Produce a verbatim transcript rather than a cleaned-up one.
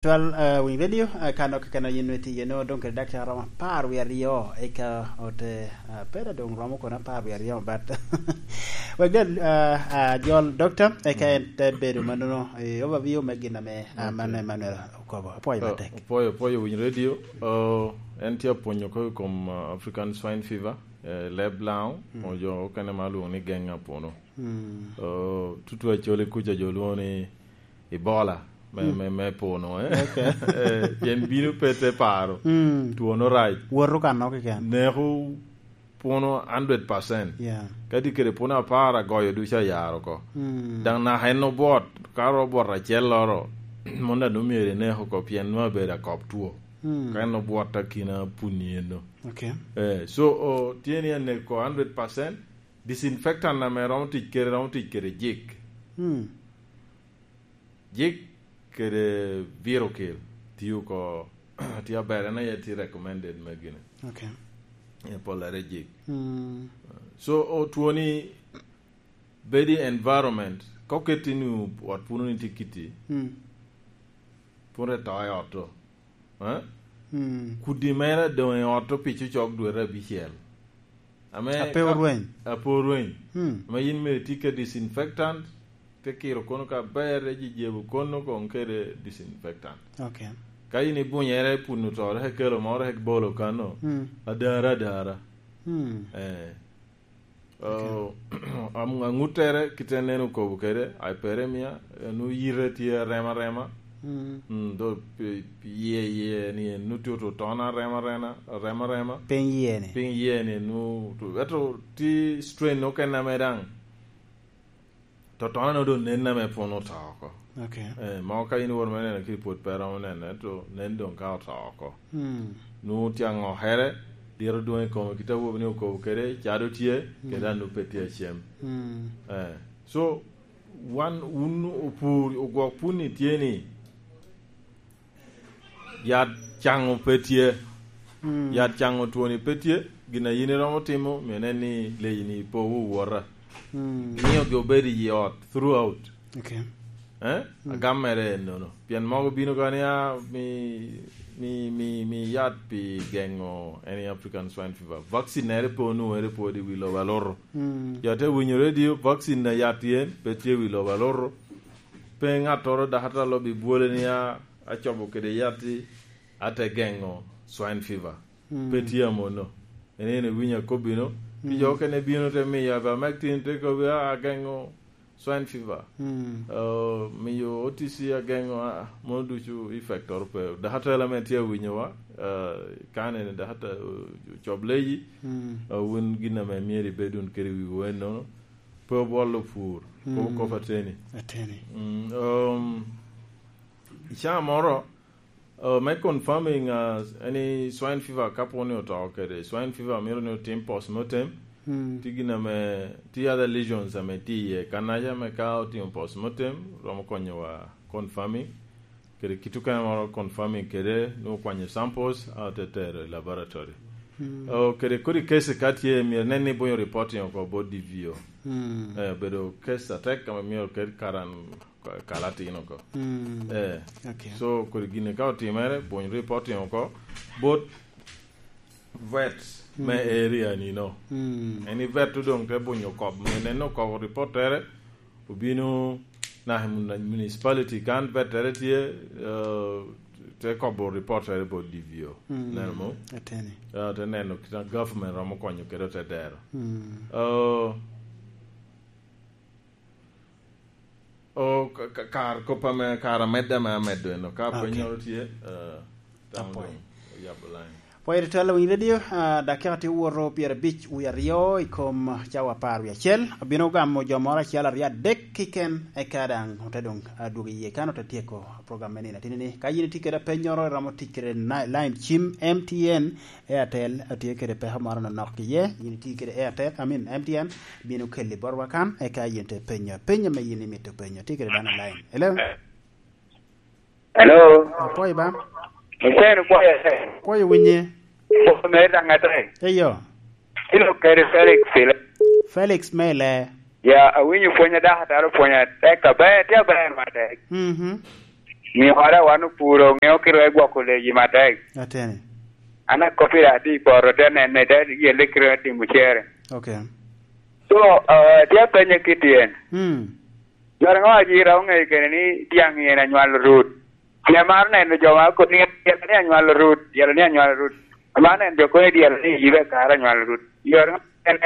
Twal, eh, Winy Radio, eh, ka nok keken yin nwe tye yen, doŋ kede dakika romo apar wie aryo, eka ote, eh, pera doŋ romo kono apar wie aryo, but wek gal, eh, eh, jol doctor, eka en te bedo mannono, eh, overview me gin ame, eh, man Emmanuel okobo. Apwoyo matek. Apwoyo, apwoyo Winy Radio. Oh, en tye apwonyo oko i kom, eh, African Swine Fever, eh, leb Laŋo, o jo okene ma lwongo ni geng apuno. Oh, tutu acoli kuca jo lwongo ni Ebola, me, me, me puno, eh. Eh, pien bino pe te paro. Tuono rac. Woto ka nok keken. Neko puno hundred percent. Yeah. Kadi kede puno apar agoyo ducu ayaro oko. Daŋ naka en obwot, ka ro obwot acel loro, mon daŋ nwoŋo myero inek oko pien nwoŋo abedo akop two. Ka en obwot akina punni eno. Okay. Eh, so, o, tye ni anek oko hundred percent, disinfectant ame romo tic kede, romo tic kede jik. Jik kede Virocil tye oko, tye aber, en aye tye recommended me gine. Okay. E pollere jik. So, o, twoni bedi environment, ka oketti ni ot puno ni tye kiti, pun re to i ot to. Eh? Kudi mere doŋ i ot to pico cok dwete abicel. Ame ape ka orweny. Ape orweny. Ame yin mere tye ka disinfectant, te kiro kono ka ber, te jejebo kono koŋ kede disinfectant. Okay. Ka yin ibunyere pun oto, rek ikelo mo, rek ibolo kano, adara, adara. Eh. Oh, am-, aŋuttere, kite en okobo kede, hyperemia, nu yite tye arema arema. Mm, do pi, pi iye, iye ni en nu tye oto tona arema arema, arema arema. Piny iye ni. Piny iye ni nu, to, eto ti strain okene ame daŋ. To tona no do nen ame pwon oto oko. Okay. Eh, ma ka in iwor me neno ki pwod pe romo nene, to nen doŋ ka oto oko. Nu tye aŋokere, diro dwoŋ i kome, kit awobi ni okobo kede, cado tye, kede anu pe tye acem. Eh, so, wan, wun opur, ogwok pun ni tye ni, yat caŋo pe tye. Yat caŋo twoni pe tye, gin a yin iromo timo, myero inen ni leyi ni ipowu wota. Miyogi obedo i ot throughout. Okay. Eh? Agam mere ennono. Pien mogo bino ka ni, "Ah, mi, mi, mi, mi yat pi geŋo any African swine fever." Vaccine ere pe onwoŋere pwod i wi lobo alutu. Jo te winyo radio, vaccine a yat yen pe tye i wi lobo alutu. Pe ŋattoro dakatara lo bi bwole ni, "Ah, acobo kede yatti, ate geŋo swine fever." Pe tye amono. En en ewinyo akobbi no. Pi jo okene bino te miyo ivermectin, te kobbi, "Ah, ageŋo swine fever." Oh, miyo O T C ageŋo, ah, mono ducu effect oro pe. Dakatela ame tye awinyowa, ah, kan en dakata, oh, cob leyi, ah, wun gin ame myero ibed wun kede wiwu ennono. Pe obwolo pur, kobo kop ateni. Ateni. Mm, um, i caa moro, uh, me confirming, uh, any swine fever, ka pwod ni oto kede swine fever, myero ni otim postmortem. Tye gin ame, tye other lesions ame tye iye. Kannaca ame ka otimo postmortem, romo konyowa confirming. Kede kit okene moro confirming kede, nwoŋo kwanyo samples, a te tero i laboratory. Oh, kede kodi case ka tye, myero nen ni bonyo reporting oko bot D V O. Eh, bedo case atek, ame myero ked karan kalatin oko. Eh, okay. So, kodi gini ka otimere, bonyo reporting oko bot vet me area ni no. En i vet doŋ te bunyo kop, me neno kop reportere, obino naka i mun-, municipality kan vettere tye, eh, te kobo reportere bot D V O. Neno mo? Ateni. Eh, te neno kit a government romo konyo kede te dero. Eh, O, ka, ka, kar kop ame, kar amedde ame amedo eno, ka pwonnyoro tye, eh, tamo doŋ oyabo line. Pwoyo tutwal, Winy Radio, ah, dakika tye owoto pyerabic wie aryo i kom cawa apar wie acel. Abino gamo jo moro acel aryo adek keken, eka daŋ ote doŋ, ah, dwogo iye kan ote tyeko program me nino atini-ni. Ka yin itye kede apennyoro, iromo tic kede na-, line cim M T N, Airtel, atye kede peko moro nonok iye, yin itye kede Airtel, I mean, M T N, bino kelli botwa kan, eka yin te penyo apenyo ame yin imito penyo. Tye kede dano i line. Hello? Hello? Apwoyo ba? Hussein, pwoyo, Hussein. Pwoyo winye. Pwoyo mere daŋ ate. Eyo. Ilo kede Felix, Felix. Felix Mele. Ya, awinyo pwony a dakatara opwonyo atek aber, tye aber matek. Mhm. Nio ora wan opuro, ŋeo kite gwoko leyi matek. Ateni. An akop pire atye i poto, te nene, te yelle kite timo cere. Okay. So, uh, tye apenye kit yen. Hmm. Joro ŋo ajira oŋeyo kene ni tiang yen anywalo rut? Pien maro neno jo ma koni dyela ni anywalo rut, dyela ni anywalo rut. Maro neno jo koni dyela ni yibe kara anywalo rut. Joro ŋo en